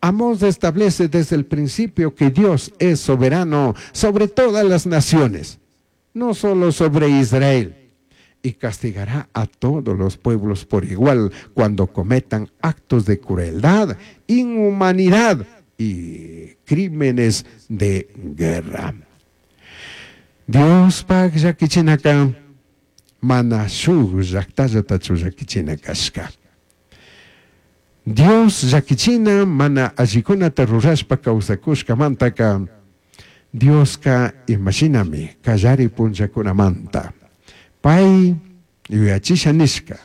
Amós establece desde el principio que Dios es soberano sobre todas las naciones, no solo sobre Israel, y castigará a todos los pueblos por igual cuando cometan actos de crueldad, inhumanidad y crímenes de guerra. Diospaj llaquichinaca mana shuj llajtallatachu llaquichina cashca. Dios llaquichina mana allicunata rurashpa causacushcamantaca Diosca imashinami callari punllacunamanta pai yuyachisha nishca,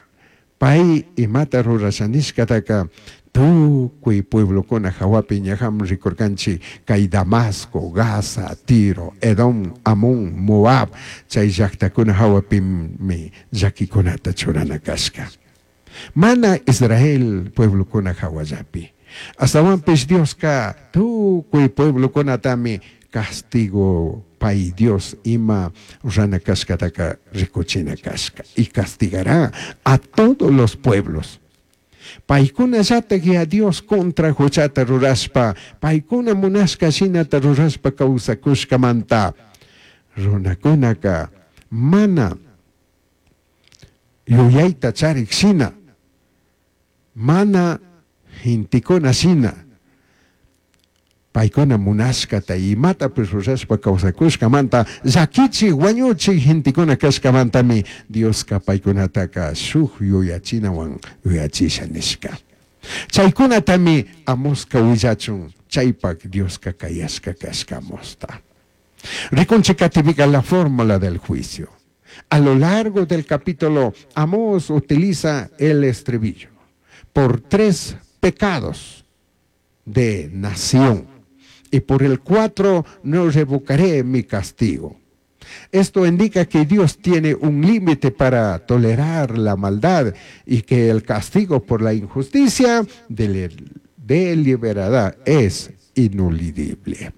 pai imata rurasha nishcataca tucui pueblocuna jahuapi ñajam ricurcanchij cai Damasco, Gaza, Tiro, Edom, Amón, Moab chai llajtacuna jahuapimi llaquicunata churana cashca. Mana Israel pueblocuna jahuallapi. Ashtahuanpish Diosca tucui pueblocunatami castigo pai Dios ima rurana cashcataca ricuchina cashca. Y castigará a todos los pueblos. Paicunallataj ya Dios contra juchata rurashpa, paicuna munashca shinata rurashpa causacushcamanta runacunaca mana yuyaita charij shina, mana gentecuna shina, paicuna munashcata imatapish rurashpa causacushcamanta llaquichij, huañuchij gentecuna cashcamantami Diosca paicunataca shuj yuyachinahuan yuyachisha nishca. Chaicunatami Amosca huillachun chaipaj Diosca cayashca cashca Amosta. Ricunchij catipica la fórmula del juicio. A lo largo del capítulo, Amós utiliza el estribillo por tres pecados de nación y por el cuatro no revocaré mi castigo. Esto indica que Dios tiene un límite para tolerar la maldad y que el castigo por la injusticia deliberada es ineludible.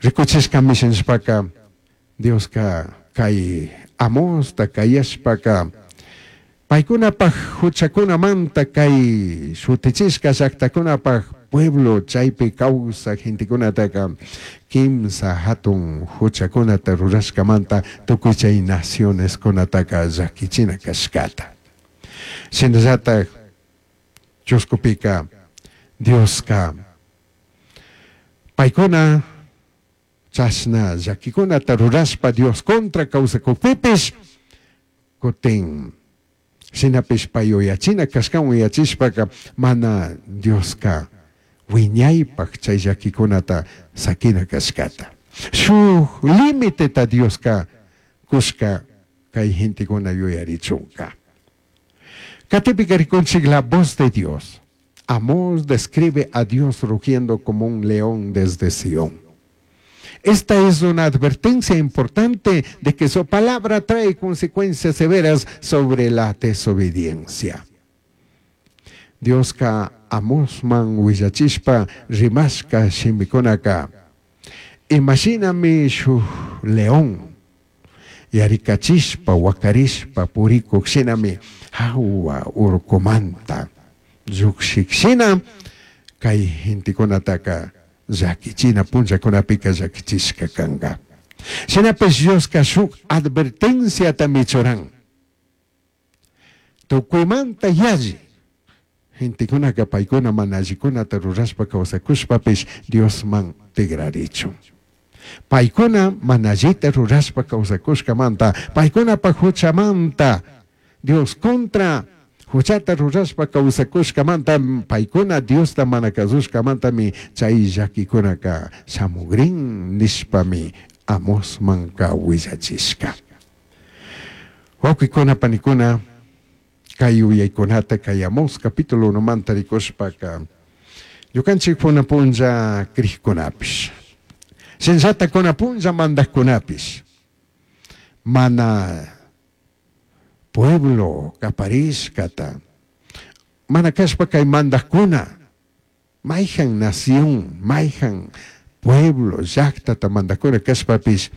Ricuchishcami shinashpaca Diosca cai Amosta cayashpaca paicunapaj juchacunamanta cai shutichishca llajtacunapaj pueblo chaipi causaj gentecunataca quimsa jatun juchacunata rurashcamanta tucui chai nacionescunataca llaquichina cashcata. Shinallataj chuscupica Diosca paicuna chashna llaquicunata rurashpa Dios contra causacujpipish cutin shinapish pai yuyachina cashcahuan yuyachishpaca mana Diosca huiñaipaj chai llaquicunata saquina cashcata. Shuj limiteta Diosca cushca cai gentecuna yuyarichunca. Catipica ricunchij la voz de Dios. Amós describe a Dios rugiendo como un león desde Sión. Esta es una advertencia importante de que su palabra trae consecuencias severas sobre la desobediencia. Diosca Amosman huillachishpa rimashca shimicunaca imashinami shuj león yaricachishpa huacarishpa puricuj shinami jahua urcumanta llujshij shina cai gentecunataca llaquichina punllacunapica llaquichishca canga. Shinapish Diosca shuj advertenciatami churan. Tucuimanta yalli gentecunaca paicuna mana allicunata rurashpa causacushpapish Diosman tigrarichun. Paicuna mana allita rurashpa causacushcamanta, paicunapaj juchamanta, Dios contra juchata rurashpa causacushcamanta, paicuna Diosta mana cazushcamantami chai llaquicunaca shamugrin nishpami Amosmanca huillachishca. Huauquicuna, panicuna, cai yuyaicunata cai Amós capítulo 1manta ricushpaca ñucanchij cunan punlla crijcunapish, shinallata cunan punlla mandajcunapish, mana pueblo caparishcata, mana cashpa cai mandajcuna, maijan nación, maijan pueblo, llajtata mandajcuna cashpapish,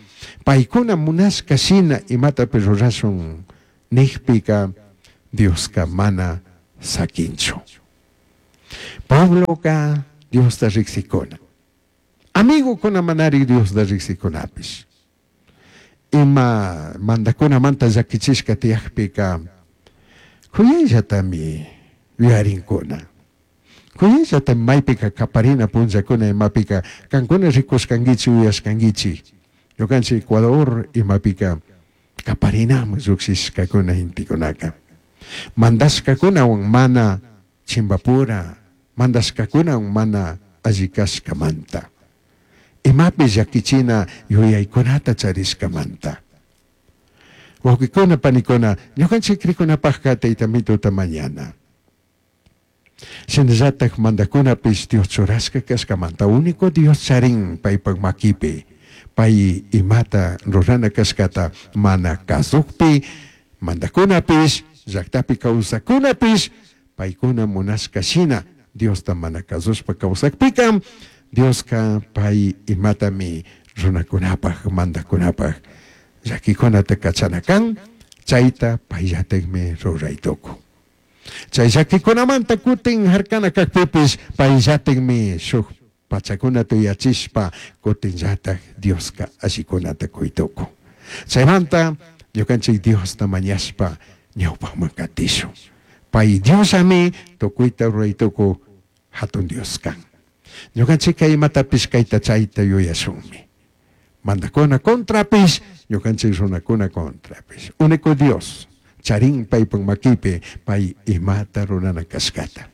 paicuna munashca shina imatapish rurashun nijpica Diosca mana saquinchu. Puebloca Diosta rijsicuna. Amigocuna manari Diosta rijsicunapish. Ima mandacunamanta llaquichishca tiyajpica juyaillatami yuyarincuna. Juyaillatami maipica caparina punllacuna imapica cancuna ricushcanguichik yuyashcanguichik. Ñucanchik Ecuador imapica caparinaman llujshishcacuna gentecunaca. Mandashcacunahuan mana chimbapura, mandashcacunahuan mana alli cashcamanta. Imapi llaquichina yuyaicunata charishcamanta. Huauquicuna, panicuna, ñucanchik cricunapajca Tayta Mituta mañana. Shinallataj mandacunapish Dios churashca cashcamanta único Dios charin paipaj maquipi, pai imata rurana cashcata mana cazujpi mandacunapish, llajtapi causaccunapish paicuna munashca shina Diosta mana cazushpa causajpica, Diosca pai imatami runacunapaj, mandacunapaj llaquicunata cachana can, chaita paillatajmi rurai tucun. Chai llaquicunamanta cutin jarcana cajpipish paillatajmi shuj pachacunata yuyachishpa cutinllataj Diosca allicunata cui tucun. Chaimanta ñucanchij Diosta mañashpa ñaupajman catishun. Pai Diosllami tucuita rurai tucuj jatun Dios can. Ñucanchijca imatapish caita chaita yuyashunmi. Mandajcuna contrapish, ñucanchij runacuna contrapish. Único Dios charin paipaj maquipi pai imata rurana cashcata.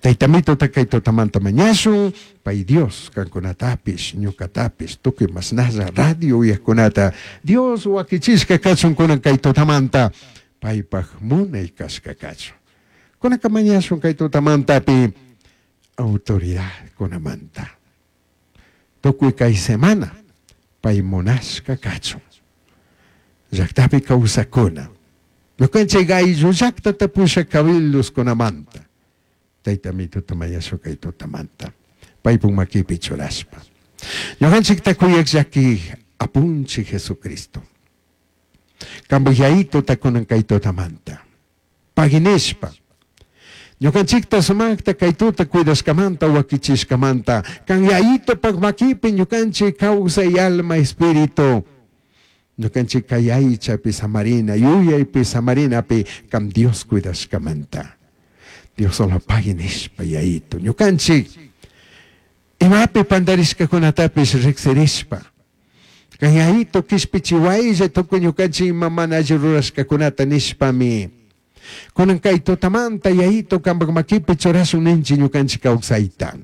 Tayta Mituta kay tutamanta mañashun, pai Dios cancunatapish, ñucatapish, tucui mashnalla radio uyajcunata Dios huaquichishca cachun cunan kay tutamanta paipaj munai cashca cachun. Cunanca mañashun kay tutamantapi autoridadcunamanta. Tucui cai semana pai munashca cachun. Llajtapi causacuna. Ñucanchij ayllu llajtata pushaj cabildoscunamanta. Tayta Mituta mañashun kay tutamanta. Paipaj maquipi churashpa. Ñucanchijta cuyaj llaquij Apunchij Jesucristo. Cambaj Yaitota cunan kay tutamanta. Pagui nishpa. Ñucanchijta sumajta cai tuta cuidashcamanta huaquichishcamanta, can Yaitopaj maquipi ñucanchij causai alma espíritu, ñucanchij cai aichapi samarina, yuyaipi samarinapi can Dios cuidashcamanta. Dios solo pagui nishpa Yaito, ñucanchij imapi pandarishcacunatapish rijsirishpa, Can Yaito quishpichihuailla tucui ñucanchij ima mana alli rurashcacunata nishpami, cunan cai tutamanta Yaito cambaj maquipi churashun ninchij ñucanchij causaita.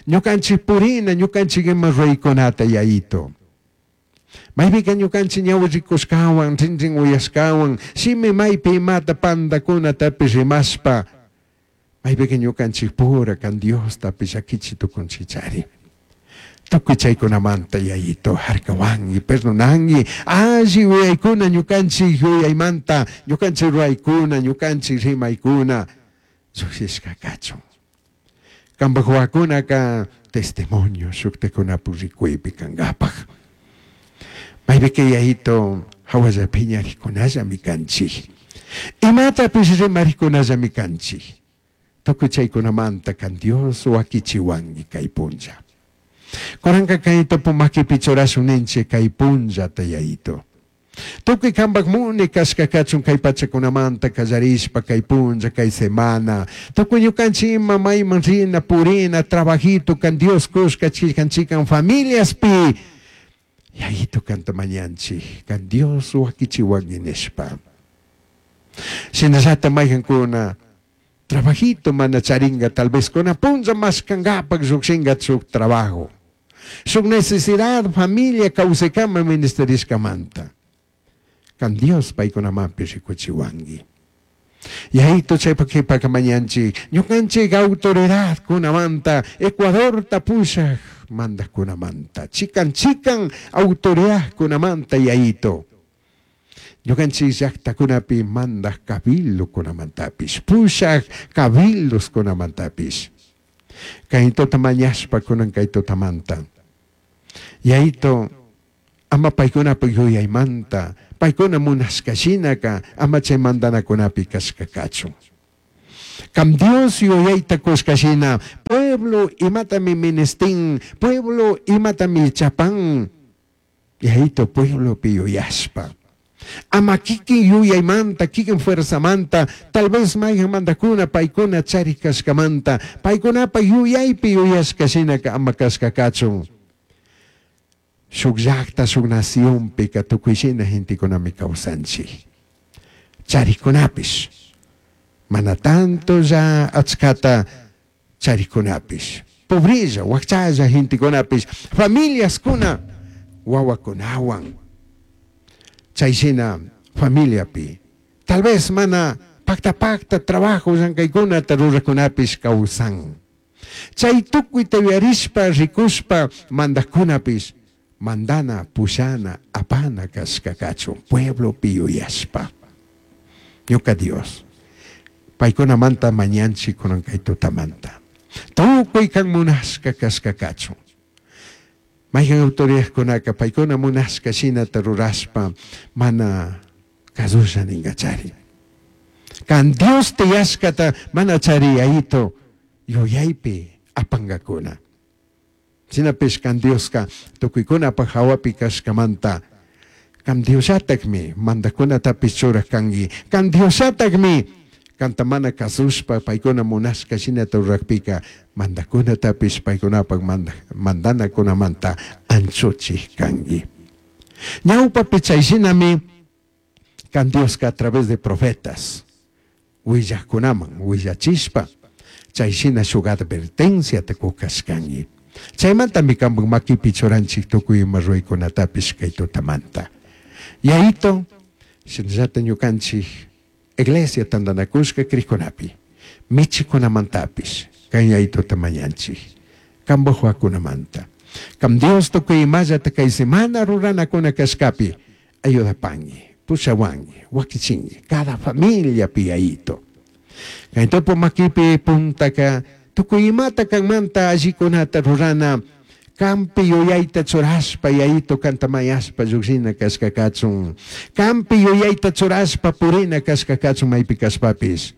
Ñucanchij purina, ñucanchij ima ruraicunata Yaito. Maipica ñucanchij ñahui ricushcahuan, rinrin uyashcahuan, shimi maipi imata pandacunatapish rimashpa, maipica ñucanchij pura can Diostapish llaquichi tucunchichari. Tucui chaicunamanta Yayito jarcahuangui, perdonangui, alli yuyaicuna ñucanchij yuyaimanta, ñucanchij ruraicuna, ñucanchij rimaicuna llujshishca cachun. Cambaj huahuacunaca testimonio shujtajcunapi ricuipi cangapaj. Maipica Yayito jahualla piñarijcunallami canchij. Imatapish rimarijcunallami canchij. Tucui chaicunamanta can Dios huaquichihuangui cai punlla. Cunanca cai tupu maquipi churashun ninchij cai punllata Yayito. Tucui cambaj muni cashca cachun cai pachacunamanta callarishpa cai punlla, cai semana. Tucui ñucanchij ima maiman rina, purina, trabajito can Dios cushca chican chican familiaspi Yayito canta mañanchij, can Dios huaquichihuangui nishpa. Shinallata maijancuna trabajito mana charinga, tal vez cuna punlla mashcangapaj llujshinga shuj trabajo. Shuj necesidad familia causaicama ministerishcamanta. Can Dios paicunamanpish ricuchihuangui. Yayito chaipa quipaca mañanchij, ñucanchij autoridadcunamanta, Ecuadorta pushaj mandajcunamanta, chican chican autoridadcunamanta Yayito. Ñucanchij llajtacunapi mandaj cabildocunamantapish, pushaj cabildoscunamantapish. Cayitota mañashpa cunan cay tutamanta. Yayito, ama paicunapaj yuyaimanta, paicuna munashca shinaca ama chai mandanacunapi cashca cachun. Can Dios yuyaita cushca shina, pueblo imatami ministin, pueblo imatami chapan, Yayito pueblopi yuyashpa. Ama kikin yuyaymanta, kikin fuerzamanta, tal vez mayqanmantakuna paykuna charik kashkamanta, paykunapa yuyaypi yuyashka shinaka ama kashka kachun. Shuk llakta, shuk nacionpika tukuy shina gentekunami kawsanchik. Charikkunapish, mana tantolla achkata charikkunapish, pobrella, wakchalla gentekunapish, familiaskuna wawakunawan, chay shina familiapi, tal vez mana pakta pakta trabajo llankaykunata rurakunapish kawsan. Chay tukuyta yuyarishpa, rikushpa mandajkunapish mandana, pushana, apana kashka kachun pueblopi yuyashpa. Ñuka Dios, paykunamanta mañanchik kunan kay tutamanta. Tukuy kan munashka kashka kachun. Mayqan autoridadkunaka paykuna munashka shinata rurashpa mana kasusha ninkachari. Kan Dios tiyashkata mana chari yayito yuyaypi apankakuna. Shinapish kan Dioska tukuykunapaj hawapi kashkamanta kan Diosllatakmi mandajkunatapish churaj kanki. Kan Diosllatakmi kanta mana kasushpa paykuna munashka shinata rurakpika mandajkunatapish paykunapaj mandanakunamanta anchuchij kanki. Ñawpapi chay shinami kan Dioska a través de profetas willajkunaman willachishpa chay shina shuk advertenciata kukashkanki. Chaymantami kanpak makipi churanchik tukuy ima ruraykunatapish kay tutamanta. Yayito, shinallata ñukanchik iglesia tantanakushka krikunapi, michikunamantapish kay yayituta mañanchik, kanpak wawakunamanta. Kan Dios tukuy imallata kay semana ruranakuna kashkapi ayudapanki, pushawanki, wakichinki, cada familiapi yayito. Kay tupu makipi puntaka tukuy imata kanmanta allikunata rurana, kampi yuyayta churashpa yayito kanta mañashpa llukshina kashka kachun. Kampi yuyayta churashpa purina kashka kachun maypi kashpapish.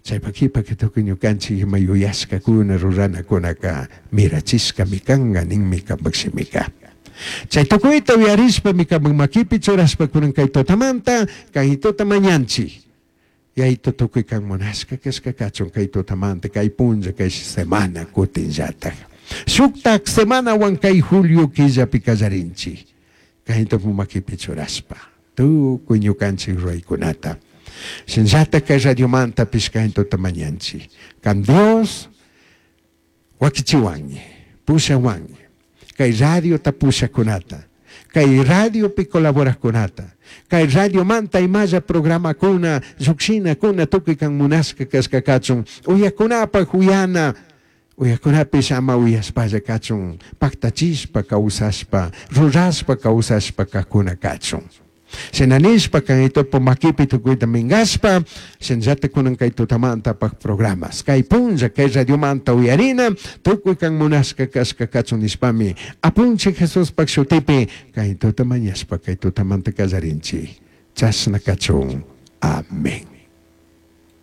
Chaypak kipaka tukuy ñukanchik ima yuyashkakuna ruranakunaka mirachishkami kanka ninmi kanpak shimika. Chay tukuyta uyarishpami kanpak makipi churashpa kunan kay tutamanta kayituta mañanchik. Yayito tukuy kan munashka kashka kachun kay tutamanta kay punlla kay semana kutinllatak. Shuktak semanawan kay julio killapi kallarinchik. Kayitupu makipi churashpa tukuy ñukanchik ruraykunata. Shinllatak kay radiomantapish kayituta mañanchik. Kan Dios wakichiwanki, pushawanki, kay radiota pushakunata, kay radiopi colaborajkunata, kay radiomanta imalla programakuna, llukshinakuna tukuy kan munashka kashka kachun, uyakunapak uyana, uyakunapish ama uyashpalla kachun, paktachishpa kawsashpa, rurashpa kawsashpa kakuna kachun. Shinanishpa kay tupu makipi tukuyta minkashpa, shinallata kunan kay tutamantapaj programas, kay punlla, kay radiomanta uyarina, tukuy kan munashka kashka kachun nishpami, apunchik Jesuspak shutipi, kay tuta mañashpa, kay tutamanta kallarinchik. Chashna kachun. Amén.